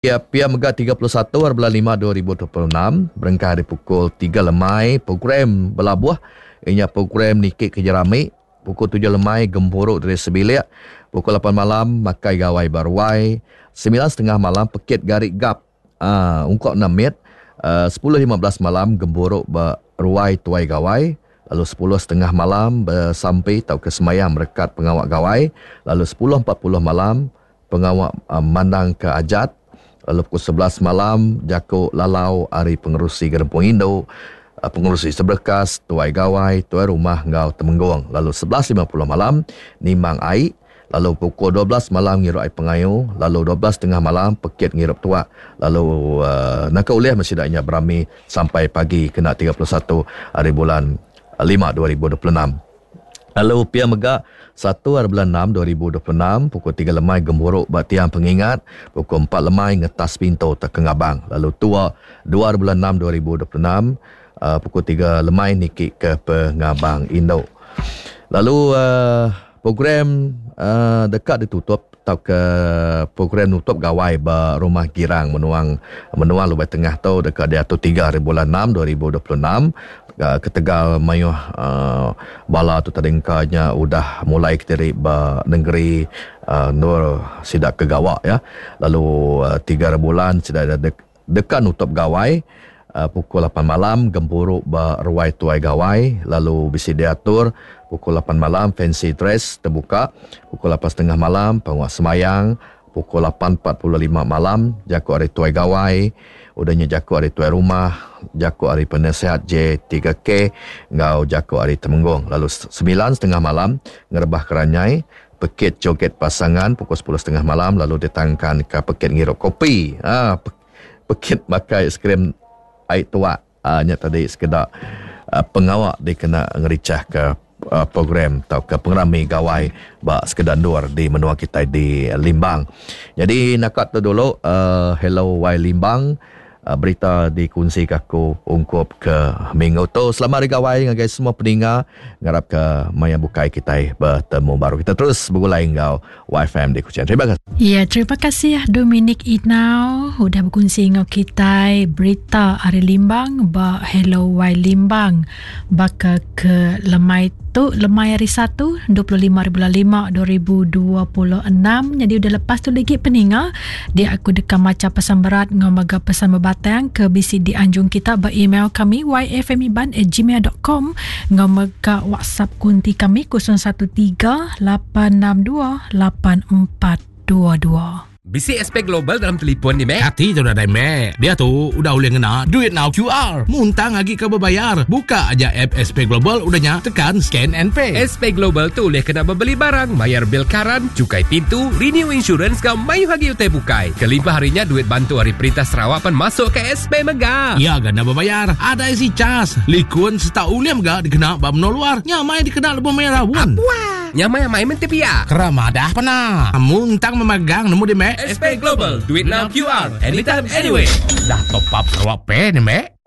Iya pia mega 31 hari bulan 5 2026 berengkah ari pukul 3 lemai program belabuh iya nya program niki ke jerami pukul 7 lemai gempuru diri sebilik pukul 8 malam makai gawai ba ruai 9.30 malam pekit gari gap aaa ungkup enda mit aaa 10.15 malam gempuru ba ruai tuai gawai lalu 10.30 malam besampi tauka sembahyang merekat pengawa gawai lalu 10.40 malam Pengawa mandangka ajat lalu pukul 11 malam jaku lalau ari Pengerusi Gerempung Indu, Pengerusi Seberekas, Tuai Gawai, Tuai Rumah enggau Temenggung lalu 11.50 malam nimang ai lalu pukul 12 malam ngirup ai pengayu lalu 12.30 malam pekit ngirup tuak lalu naka ulih meh sida nya berami sampai pagi kena 31 hari bulan 5 2026. Lalu pia mega, satu hari bulan enam 2026, pukul tiga lemai gempuru ba Tiang Pengingat, pukul empat lemai ngetas pintu teka ngabang. Lalu tua, dua hari bulan enam 2026, uh, pukul tiga lemai niki ke pengabang indu. Lalu uh, program uh, deka ditutup tauka program nutup gawai ba Rumah Girang Menuang Menua Lubai Tengah tu deka diatur tiga hari bulan enam 2026 ketegal mayuh bala tu tadi engka nya udah mulai kediri ba nengeri endur sida ke gawa ya lalu tiga hari bulan sida deka nutup gawai pukul lapan malam gempuru ba ruai tuai gawai lalu bisi diatur pukul lapan malam fancy dress tebuka pukul lapan setengah malam pengawa sembahyang pukul 8.45 malam jaku ari tuai gawai udah nya jaku ari tuai rumah jaku ari penasihat J3K enggau jaku ari Temenggung lalu 9.30 malam ngerebah keranyai pekit joget pasangan pukul 10.30 malam lalu ditangkan ke pekit ngirup kopi ha pekit makai aiskrim ai tuak ha, nya tadi sekeda uh, pengawa dikena ngerichah ke uh, program tauka pengerami gawai ba sekeda endur di menua kitai di Limbang. Jadi naka tu dulu uh, Hello Wai Limbang uh, berita dikunsi ke aku ungkup ke minggu tu. Selamat hari gawai ngagai semua peninga. Ngarap ke maya bukai kitai bertemu baru. Kita terus begulai enggau YFM di Kuching. Terima kasih. Ya, terima kasih Dominic Inau udah berkongsi enggau kitai berita ari Limbang ba Hello Y Limbang. Baka ke lemai tu lemai hari Satu 25 hari bulan 5 2026 jadi udah lepas tu lagi peninga dia aku deka macha pesan berat ngau mega pesan bebatang ke bisi dianjung kita ba email kami yfmiban@gmail.com ngau mega WhatsApp kunti kami 013 862 8422. Bisi SP Global dalam telipon ni, Mek? Kati tu nadai, Mek. Diatu udah ulih ngena DuitNow QR. Muntang agi ke bebayar. Buka aja app SP Global udah nya tekan scan and pay. SP Global tu ulih kena bebeli barang, mayar bil karan, cukai pintu, renew insurance enggau mayuh agi utai bukai. Kelimpah ari nya duit bantu ari perintah Sarawak pan masuk ke SP mega. Iya ga enda bebayar. Adai si cas, likun sereta ulih mega dikena ba menua luar. Nya mai dikena lebuh maya raun. Apuah. Nyamai amai menti pia. Kera madah pena. Muntang memagang nemu di mek. SP Global, duit now QR, anytime anywhere. Dah top up Sarawak Pay ni mek.